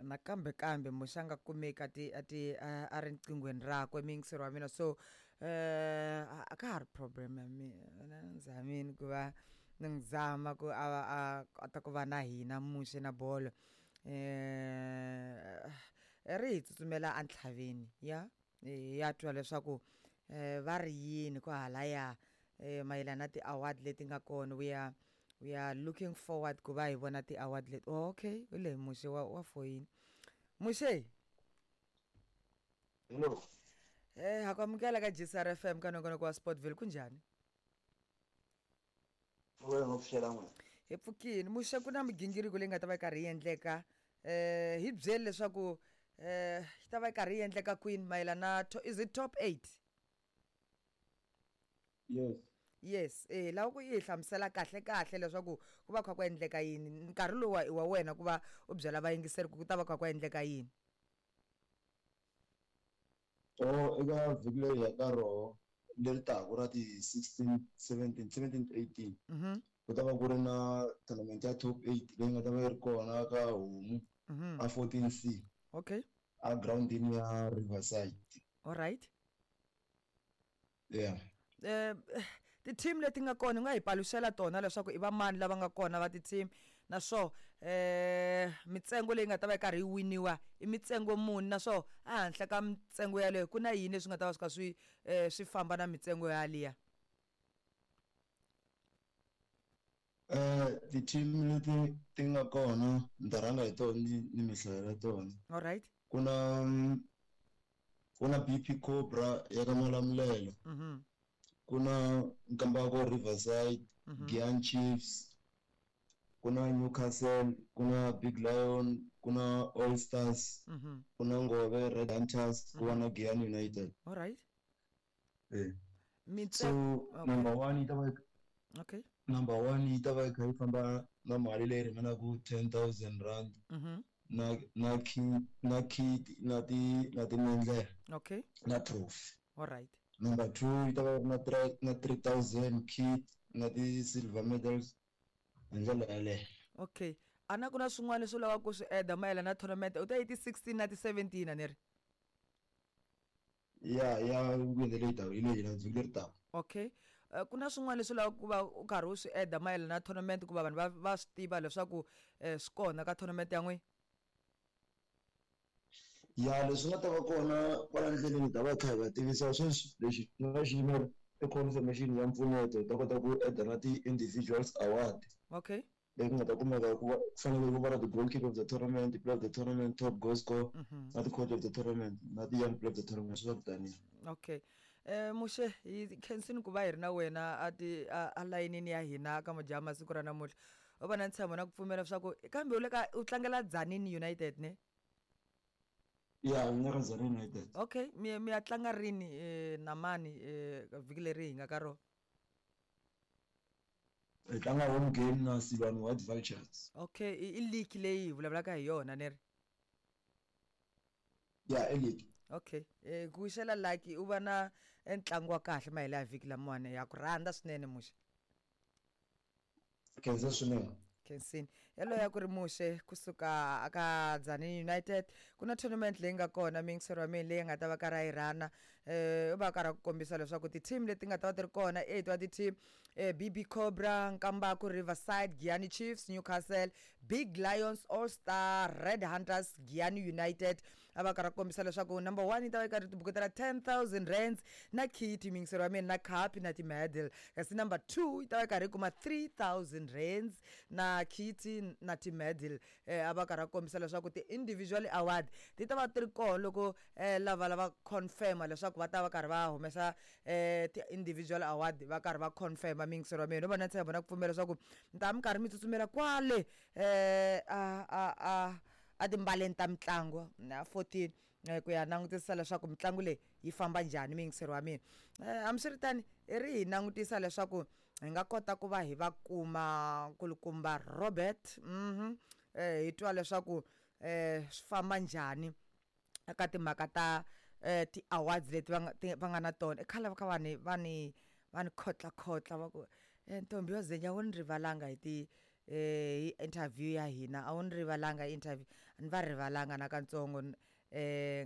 Nakambe kambe Muxe a nga kumeki a ti a ti a ri nqinghweni rakwe muyingiseri wa mina so a ka ha ri problem ya mina ni zamini ku va ni n'wi zama ku a va a kota ku va na hina Muxe na bolo ri hi tsutsumela entlhaveni ya hi ya twa leswaku va ri yini kwahalaya mayelana na ti-award leti nga kona we are looking forward ku va hi vona ti-award leti. Oh, okay, hi leyi Muxe wa foyini Muxe. Hello. Ha ku amukela ka GCR FM ka nongonoko wa Sportville. Kunjhani? Wena ngo pfuxela n'wina. Hi pfukini Muxe. Ku na migingiriko leyi nga ta va yi karhi yi endleka, hi byeli leswaku yi ta va yi karhi yi endleka kwini mayelana na, is it top 8? Yes. Yes, lava ku i hi hlamusela kahle kahle leswaku ku va kha ku endleka yini. Nkarhi lowu i wa wena ku va u byela vayingiseri ku ta va kha ku endleka yini. Oh, eka vhiki leri ya ka roho leri taka ra ti 16, 17, 17, 18 ku ta va ku ri na tournament ya top 8 leyi nga ta va yi ri kona ka Homu a 14C a groundini ya Riverside. All right. Yeah. Ti-team leti nga kona, u nga hi paluxela tona leswaku i va mani lava nga kona va ti-team, naswo mitsengo leyi nga ta va yi karhi yi winiwa i mitsengo muni, naswo ehenhla ka mitsengo yaleyo ku na yini leswi nga ta va swi kha swi famba na mitsengo yaliya? Ti-team leti ti nga kona ni ta rhanga hi tona ni mi hlayela tona. All right. Ku na BP Cobra ya ka Malamulele, ku na Nkambako Riverside, Giyani Chiefs, ku na Newcastle, ku na Big Lion, ku na All Stars, ku na Ngove Red Hunters, ku va na Giyani United. All right. So number one yi ta va number one yi ta va yi kha yi famba na mali leyi ringanaku R10 000 na kit, na kit, na timendlele na trophy. All right. Number two yi ta va yi ri na 3000, kit na ti-silver medals, hi ndlela yaleyo. Okay, a na ku na swin'wana leswi u lavaka ku swi eda mayelana na tournament? U ta yi ti-16 na ti-17, a ni ri? Ya, weekend leyi taka, hi leyi vhiki leri taka. Okay, ku na swin'wana leswi u lavaka ku va u karhi u swi eda mayelana na tournament, ku va vanhu va swi tiva leswaku swi kona ka tournament ya n'wina? Ya, leswi nga ta va kona kwala ndleleni hi ta va hi kha hi va tivisa. Sweswi lexi ni nga xi yimela i confirmation ya mpfuneto, hi ta kota ku eda na ti-individuals award leyi ku nga ta kumeka ku va ku fanele ku va na ti-goalkeeper of the tournament, player of the tournament, top goal scorer, na ti-coach of the tournament, na ti-young player of the tournament, swi va kutaniwa. Okay, Muxe, hi khensini ku va hi ri na wena a ti a layinini ya hina ka Majaha masiku ra namuntlha. U va na ntshembo na ku pfumela leswaku kambe u le ka u tlangela Tzaneen United, ne? Ya, ni nga ka Tzaneen United. Okay, mi ya tlanga rini na mani vhiki leri hi nga ka rona? Hi tlanga home game na Silwane White Vultures. Okay, i league leyi hi vulavulaka hi yona, ne ri? Ya, i league. Okay, ku wixela lucky, u va na ntlangu wa kahle mahela ya vhiki lamawani. Ya ku rhandza swinene, Muxe. Khensa swinene. Khensini. Yaloye a ku ri Muxe kusuka aka Tzaneen United. Ku na tournament leyi nga kona, miyingiseri wa mina, leyi nga ta va karhi a yi rhana. U va karhi a ku kombisa leswaku ti-team leti nga ta va ti ri kona, eight wa ti-team: BB Cobra, Nkambako Riverside, Giyani Chiefs, Newcastle, Big Lions, All Star, Red Hunters, Giyani United. A va karhi a kombisa leswaku number one yi ta va yi karhi tibuketela R10 000 na kit, miyingiseri wa mina, na cup na ti-medal, kasi number two yi ta va yi karhi yi kuma R3000 na kit na ti-medal. A va karhi a kombisa leswaku ti-individual award ti ta va ti ri kona loko lava lava confirma leswaku va ta va karhi va humesa ti-individual award, va karhi va confirma. Miyingiseri wa mina, no va na ntshembo na ku pfumela leswaku mi ta mi karhi mi tsutsumela kwale a timbaleni ta mitlangu na 14 ku ya langutisa leswaku mitlangu leyi yi famba njhani. Miyingiseri wa mina, hambiswiritano, i ri hi langutisa leswaku hi nga kota ku va hi va kuma nkulukumba Robert, hi twa leswaku swi famba njhani eka timhaka ta ti-awards leti va nga na tona. I khale va kha va ni khotlakhotla, va ku ntombi yo zenya, wu ni rivalanga hi ti. Hi interview ya hina a wu ni rivalanga interview, a ni va rivalanga nakantsongo.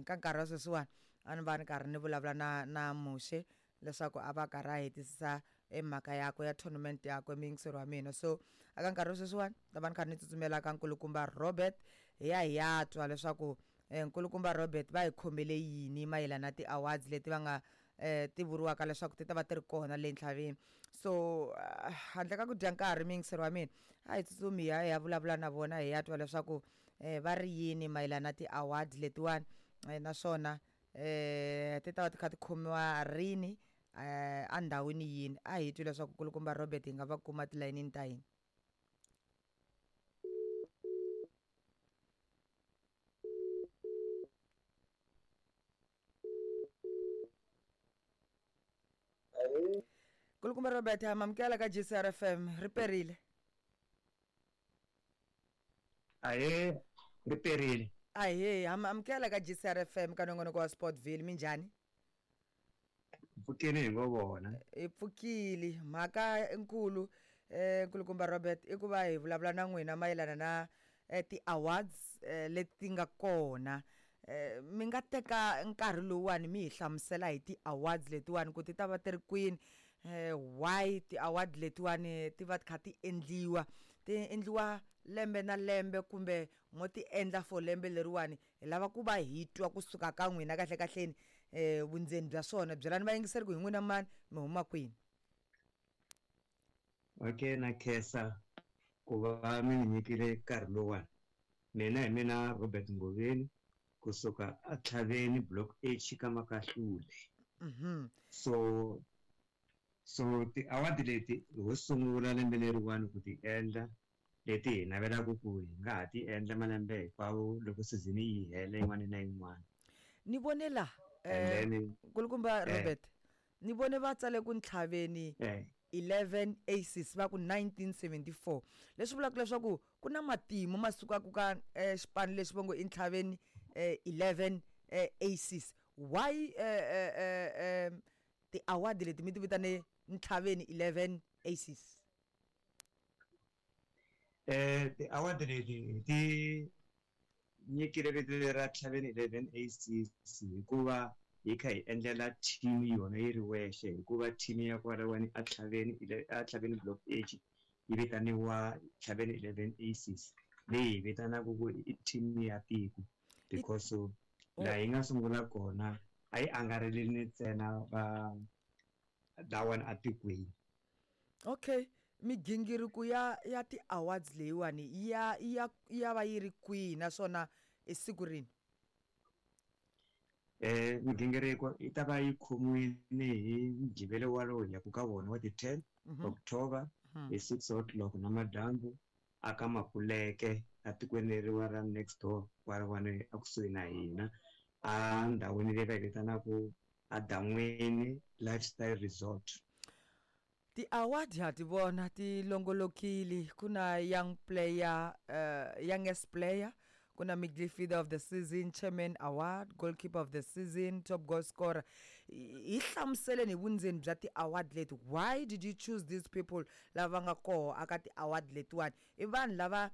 Ka nkarhi wa sweswiwani a ni va ni karhi ni vulavula na Muxe leswaku a va karhi a hetisisa emhaka yakwe ya tournament yakwe, muyingiseri wa mina. So aka nkarhi wa sweswiwani ta va ni karhi ni tsutsumela ka nkulukumba Robert, hi ya hi ya twa leswaku nkulukumba Robert va hi khomele yini mayelana na ti-awards leti va nga ti vuriwaka leswaku ti ta va ti ri kona le ntlhaveni. So handle ka ku dya nkarhi, muyingiseri wa mina, a hi tsutsumi hi ya hi ya vulavula na vona, hi ya twa leswaku va ri yini mayelana na ti-award letiwani, naswona ti ta va ti kha ti khomiwa rini, endhawini yini. A hi twi leswaku nkulukumba Robert hi nga va kuma tilayinini ta hina. Nkulukumba Robert, ha mamukela ka GCR FM, ri perile. Ahe, ri perile. Ahee, ha amukela ka GCR FM ka nongonoko wa Sportville. Minjhani? Pfukeni hi ngo vona. Hi pfukile. Mhaka nkulu, nkulukumba Robert, i ku va hi vulavula na n'wina mayelana na ti-awards leti nga kona. Mi nga teka nkarhi lowuwani mi hi hlamusela hi ti-awards letiwani, ku ti ta va ti ri kwini, why ti-award letiwani ti va ti kha ti endliwa, ti endliwa lembe na lembe kumbe mo ti endla for lembe leriwani? Hi lava ku va hi twa kusuka ka n'wina kahle kahleni vundzeni bya swona. Byelani vayingiseri ku hi n'wina mani, mi huma kwini. Okay, na khensa ku va mi ni nyikile nkarhi lowuwani. Mina hi mina Robert Ngoveni kusuka aTlhaveni, Block H, ka Makahlule. So ti-award leti ho sungula lembe leriwani ku ti endla, leti hi navelaka ku hi nga ha ti endla malembe hinkwawo loko season yi hela yin'wana na yin'wana. Ni vone la And then nkulukumba Robert, ni vone va tsale ku Ntlhaveni 11 Aces, va ku 1974, leswi vulaka leswaku ku na matimu ma sukaka ka xipano lexi va ngo i Ntlhaveni 11 Aces. Why ti-award leti mi ti vitane Ntlhaveni 11 Aces? Ti-award leti hi ti nyikile vito leri ra Ntlhaveni 11 Aces hikuva hi kha hi endlela team yona yi ri wexe, hikuva team ya kwalawani aTlhaveni Block H yi vitaniwa Ntlhaveni 11 Aces, leyi hi vitanaka ku i team ya tiko, because laha hi nga sungula kona a yi angarhelini ntsena va lawani atikweni. Okay, migingiriko ya ti-awards leyiwani ya va yi ri kwihi, naswona i siku rini? Migingiriko yi ta va yi khomiwile hi Mugqivela walowo hi yaku ka wona wa ti-10 October hi 6 o'clock namadyambu aka Makuleke, atikweni leriwa ra next door kwalawani ekusuhi na hina, a ndhawini leyi va yi vitanaku Adan'wini Lifestyle Resort. Ti-award ha ti vona ti longolokile. Ku na young player, youngest player, ku na midfielder of the season, chairman award, goalkeeper of the season, top goal scorer. Hi hlamuseleni hi vundzeni bya ti-award leti. Why did you choose these people lava nga koho aka ti-award letiwani? I vanhu lava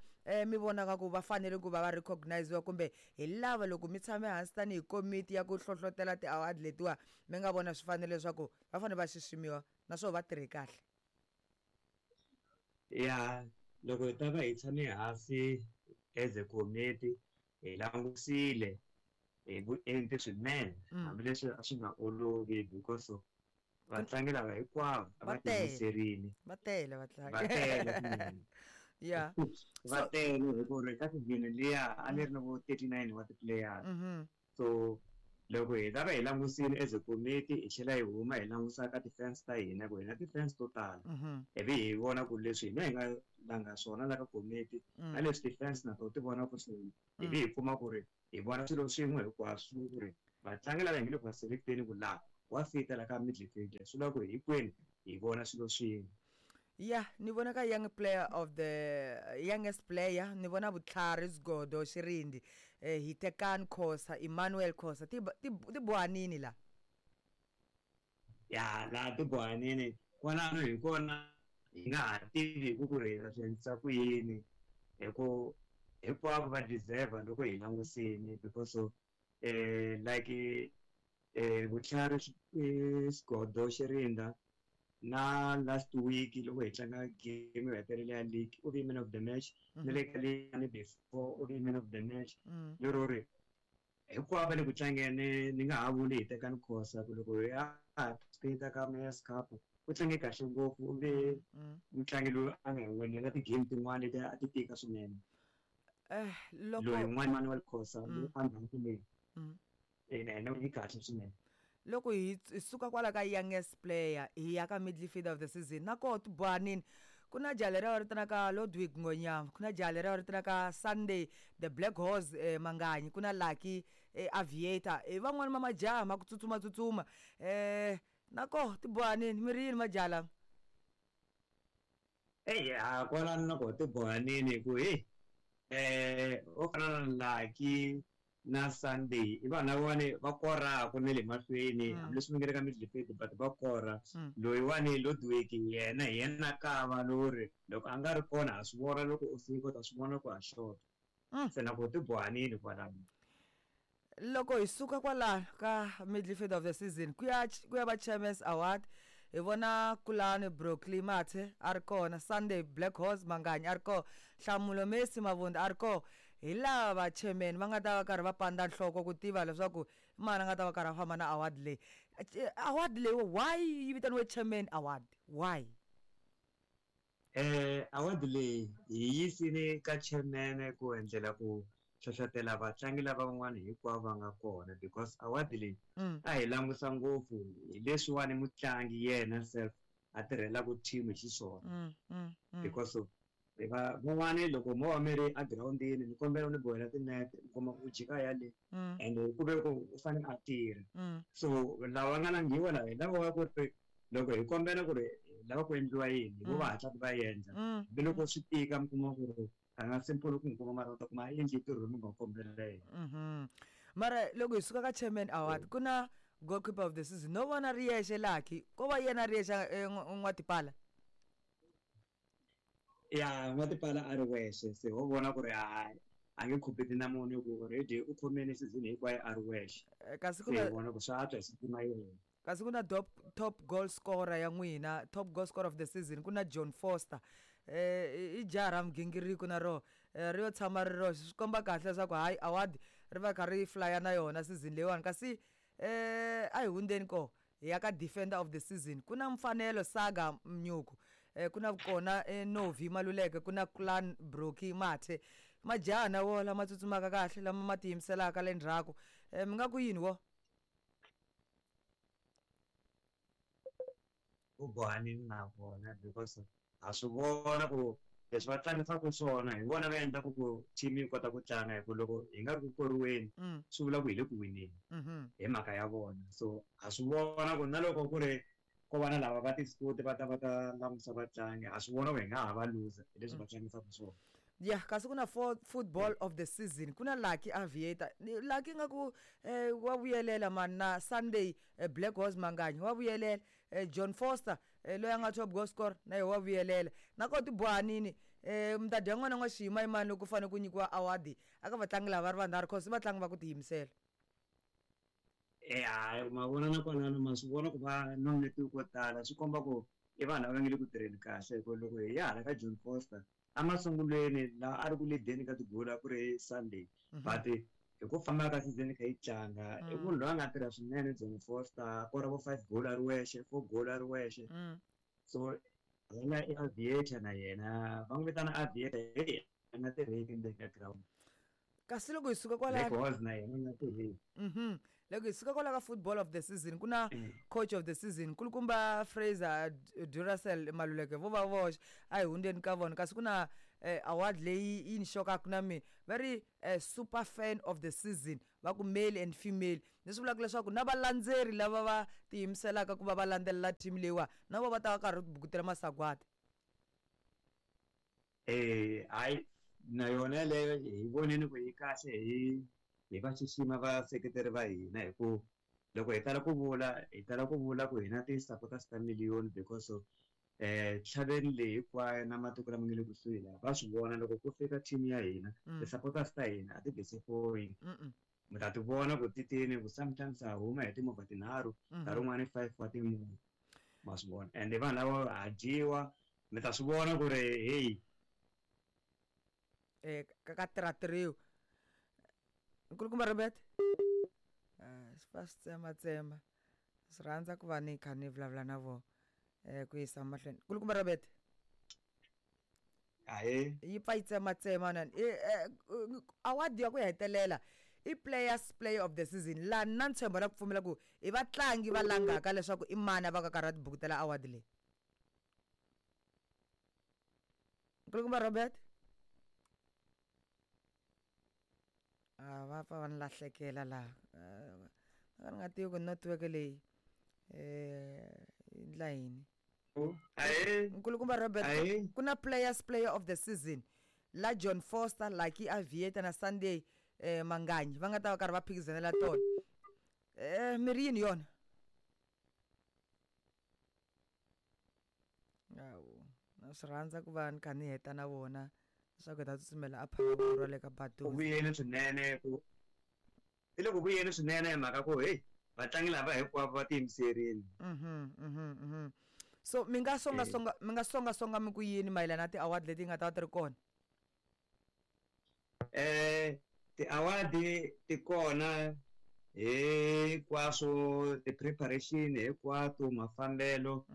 mi vonaka ku va fanele ku va va recogniziwa, kumbe hi lava loko mi tshame hansi tanihi komiti ya ku hlohlotela ti-award letiwa mi nga vona swi fanele leswaku va fanele va xiximiwa naswona va tirhe kahle? Ya, loko hi ta va hi tshame hansi as a committee, hi langusile hi vuenti swinene, hambileswi a swi nga olovi because vatlangi lava hinkwavo a va Va tele. tiyimiserile. Va tele vatlangi. Va tele swinene. Va tele hi ku ri ka season liya a ni ri na vo 39 wa ti-players. So loko hi ta va hi langusile as a committee, hi tlhela hi huma hi langusa ka ti-fans ta hina, ku hi na ti-fans to tala, ivi hi vona ku leswi hina hi nga langa swona la ka committee na leswi ti-fans na tona ti vonaka swona, ivi hi kuma ku ri hi vona swilo swin'we hinkwaswo, ku ri vatlangi lava hi nge le ku va selecteni ku laha wa fita la ka midfield, swi vula ku hinkwenu hi vona swilo swin'we. Ya, ni vona ka young player of the youngest player ni vona Vutlhari Sgodo Xirindi, Hitekani Khosa, Emmanuel Khosa. Ti bohanini la? Ya, laha ti bohanini kwalano hi kona. Hi nga ha tivi ku ri hi ta swi endlisa ku yini, hi ku hinkwavo va deserve loko hi langusini, because of like Vutlhari Xigodo Xirinda na last week loko hi tlanga game yo hetelela ya league u vi man of the match, na le ka leyani before u vi man of the match. Lero ri hinkwavo va le ku tlangeni, ni nga ha vuli hi Tekani Khosa ku loko hi ya participate ka Mayors Cup u tlange kahle ngopfu, u ve mutlangi loyi a nga winela ti-game tin'wana leti a ti tika swinene. Loko loyi un'wana Manuel Khosa loyi a ndhawu leyi na yena u yi kahle swinene. Loko hi suka kwala ka youngest player hi ya ka midfielder of the season, na koho tibohanini ku na jaha leriya va vitanaka Ludwig Ngonyama, ku na jaha leriya va vitanaka Sunday the Black Horse Manganyi, ku na Lucky Aviator, i van'wani va majaha ma ku tsutsuma tsutsuma. Na koho tibohanini mi ri yini majaha lama? Eyi ha kwalano na koho tibohanini ku heyi o fana na Lucky na Sunday i vanhu lavawani va koraku na le mahlweni, hambileswi va nga le ka midfield but va kora. Loyiwani Ludwig yena hi yena kava lori loko a nga ri kona ha swi vona, loko u fika u ta swi vona ku ha xota. Se na koho tibohanini kwalano. Loko hi suka kwalano ka midfield of the season ku ya va Chairman's Award, hi vona Kulani Brockley Mathe a ri kona, Sunday Black Horse Manganyi a ri kona, Nhlamulo Messi Mavunda a ri kona. Hi lava chairman va nga ta va karhi va pandza nhloko ku tiva leswaku i mani a nga ta va karhi a famba na award leyi. Award leyi why yi vitaniwe Chairman Award? Why? Award leyi hi yisile ka chairman ku endlela ku hlohlotela vatlangi lava van'wana hinkwavo va nga kona, because award leyi a hi langusa ngopfu hi leswiwani mutlangi yena self a tirhelaka team hi xiswona. Because of va van'wani loko mo va mi ri egirawundini ni kombela u ni bohela tinete, u kuma ku jika yale and ku ve ku u fanele a tirha. So lava nga langhiwa lava hi lava va ku ri loko hi kombela ku ri lava ku endliwa yini, hi vo va hatlaka va endla. Hambiloko swi tika mi kuma ku ri a nga simple ku n'wi kuma, mara u ta kuma a endli ntirho lowu mi nga kombela yena. Mara loko hi suka ka Chairman Award ku na goalkeeper of the season, no vona ri yexe Lucky, ko va yena ri yexe N'watipala? Ya, N'watipala a ri wexe, se ho vona ku ri a nge compete na munhu ku already u khomile season hinkwayo a ri wexe. Kasi ku na vona ku swa antswa hi siku yena. Kasi ku na top goal scorer ya n'wina, top goal scorer of the season ku na John Foster. I jaha ra mugingiriko na roho, ri yo tshama ri roxe, swi komba kahle leswaku hayi award ri va kha ri flya na yona season leyiwani. Kasi a hi hundzeni koho hi ya ka defender of the season, ku na Mfanelo Saga Mnyuku, ku na kona Novi Maluleke, ku na Clan Brocky Mathe, majaha na wo lama tsutsumaka kahle lama ma tiyimiselaka le ndzhaku. Mi nga ku yini wo? U bohanini na vona because ha swi vona ku leswi va tlangisaka swona hi vona va endlaka ku team yi kota ku tlanga, hi ku loko hi nga ri ku koriweni swi vula ku hi le ku wineni hi mhaka ya vona. So ha swi vona ku na loko ku ri ko va na lava va ti-scout va ta va ta langusa vatlangi, ha swi vona ku hi nga ha va loser hi leswi va tlangisaka swona. Ya, kasi ku na football of the season, ku na Lucky Aviator. Lucky nga ku wa vuyelela mani, na Sunday Black Horse Manganyi wa vuyelela, John Foster loyi a nga top goal scorer na yena wa vuyelela. Na koho tibohanini mi ta dya n'wana n'wa xiyimayimani loko ku fanele ku nyikiwa award aka vatlangi lava va ri vanharhu, cause i vatlangi va ku tiyimisela. Hayi, ma vona na kwalano ma swi vona ku va nominate ko tala, swi komba ku i vanhu lava nga le ku tirheni kahle. Hi ku loko hi ya hala ka John Foster emasungulweni laha a ri ku leadeni ka tigoli a ku ri Sunday, but hi ku famba ka season kha yi tlanga i munhu loyi a nga tirha swinene John Foster, a kora vo 5 goal a ri wexe, 4 goal a ri wexe. So yena i Aviator na yena va n'wi vitana Aviator, hey a nga tirheki ndzeni ka ground. Kasi loko hi suka kwala Black Horse na yena a nga tirheki. Loko hi suka kwala ka football of the season ku na coach of the season kulukumba Fraser Duracell Maluleke vo va voxe, a hi hundzeni ka vona. Kasi ku na award leyi yi ni xokaka na mina, va ri super fan of the season, va ku male and female, leswi vulaka leswaku na valandzeri lava va tiyimiselaka ku va va landzelela team leyiwa na vo va ta va karhi bukutela masagwadi. Hayi na yona yeleyo hi vonile ku yi kahle, hi va xixima vaseketeri va hina, hi ku loko hi tala ku vula, hi tala ku vula ku hina ti-supporters ta million, because of Ntlhaveni leyi hinkwayo na matiko lama nga le kusuhi laha va swi vona loko ku fika team ya hina, ti-supporters ta hina a ti disappoint. Mi ta ti vona ku titini ku sometimes ha huma hi timovha tinharhu, nkarhi wun'wani 5 wa timovha, ma swi vona. And vanhu lava ha dyiwa, mi ta swi vona ku ri hey ka tirha-tirhiwa. Nkulukumba Robert, swi fa swi tsematsema, swi rhandza ku va ni kha ni vulavula na vona ku yisa mahlweni. Nkulukumba Robert, ahee, yi pfa yi tsematsema nani. Award ya ku hetelela i players player of the season, laha na ntshembo na ku pfumela ku i vatlangi va langaka leswaku i mani va ka karhi va tibukutela award leyi. Nkulukumba Robert, a va pfa va ni lahlekela laha, a ni nga tivi ku network leyi yi ndla yini. Nkulukumba Robert, ku na players player of the season la John Foster, Lucky Aviator na Sunday Manganyi va nga ta va karhi va phikizanela tona. Mi ri yini yona? Awu, na swi rhandza ku va ni kha ni heta na vona leswaku hi ta tsutsumela a Phalaborwa le ka Baduza. Ku vuyeni swinene ku i le ku vuyeni swinene hi mhaka ku hey vatlangi lava hinkwavo va tiyimiserile. So mi nga songa songa, mi nga songa songa mi ku yini mayelana na ti-award leti nga ta va ti ri kona? Ti-award ti kona hinkwaswo, ti-preparation hinkwato, mafambelo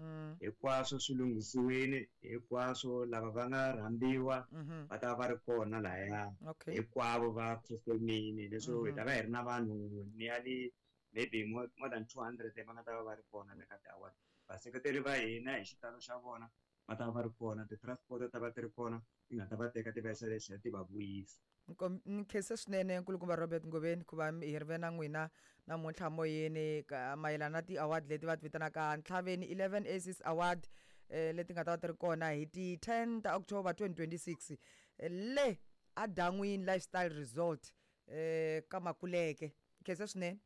hinkwaswo swi lunghisiwile hinkwaswo, lava va nga rhambiwa va ta va ri kona lahaya, hinkwavo va performile. Leswo hi ta va hi ri na vanhu nearly maybe more than 200 va nga ta va va ri kona le ka ti-award. Vaseketeri va hina hi xitalo xa vona va ta va ri kona, ti-transport ta va ti ri kona ti nga ta va teka ti va yisa le tlhela ti va vuyisa. Ni khense swinene nkulukumba Robert Ngobeni ku va hi ri ve na n'wina namuntlha moyeni mayelana na ti-award leti va ti vitanaka Ntlhaveni 11 Aces Award, leti nga ta va ti ri kona hi ti 10 ta October 2026 le a Dan'wini Lifestyle Resort ka Makuleke. Khense swinene.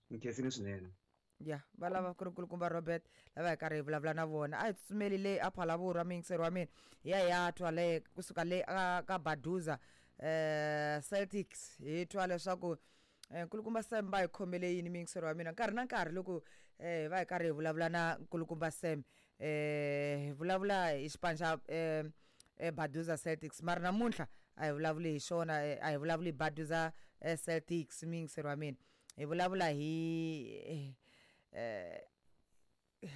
Ni khensile swinene. Ya va lava ku ri nkulukumba Robert lava hi karhi hi vulavula na vona. A hi tsutsumeli le a Phalaborwa muyingiseri wa mina, hi ya hi ya twa le kusuka le ka Baduza Celtics, hi twa leswaku nkulukumba Sam va hi khomele yini muyingiseri wa mina. Nkarhi na nkarhi loko hi va hi karhi hi vulavula na nkulukumba Sam, hi vulavula hi xipano xa Baduza Celtics, mara namuntlha a hi vulavuli hi xona, a hi vulavuli hi Baduza Celtics muyingiseri wa mina. Hi vulavula hi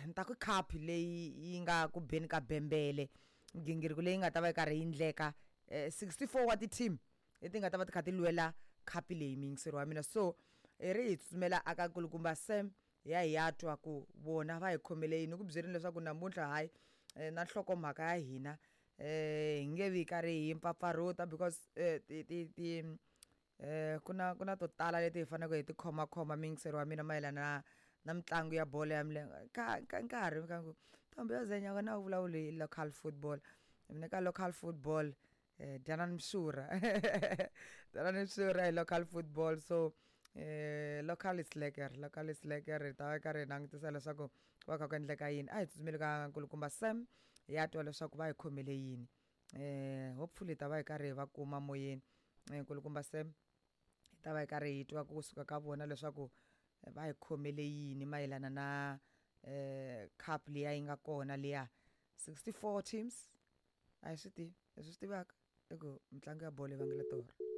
ni ta ku cup leyi yi nga ku beni ka bembele, migingiriko leyi nga ta va yi karhi yi endleka, 64 wa ti-team leti nga ta va ti kha ti lwela cup leyi muyingiseri wa mina. So hi ri hi tsutsumela aka nkulukumba Sam hi ya hi ya twa ku vona va hi khomele yini. Ni ku byerini leswaku namuntlha hayi na nhlokomhaka ya hina hi nge vi karhi hi mpfapfarhuta because ti ti ti ku na to tala leti hi faneleke hi ti khomakhoma muyingiseri wa mina mayelana na mitlangu ya bolo ya milenge. Ka nkarhi ka ku ntombi yo zenya wena u vulavuli hi local football, mina ka local football Dyanani Mshura Dyanani Mshura hi local football. So local is lekker, local is lekker. Hi ta va karhi hi langutisa leswaku va kha ku endleka yini. A hi tsutsumeli ka nkulukumba Sam hi ya twa leswaku va hi khomele yini. Hopefully hi ta va hi karhi hi va kuma moyeni. Nkulukumba Sam hi ta va hi karhi hi twa kusuka ka vona leswaku va hi khomele yini mayelana na cup liya yi nga kona liya 64 teams. A hi swi tivi, leswi swi tivaka i ku mitlangu ya bolo yi vangela torha.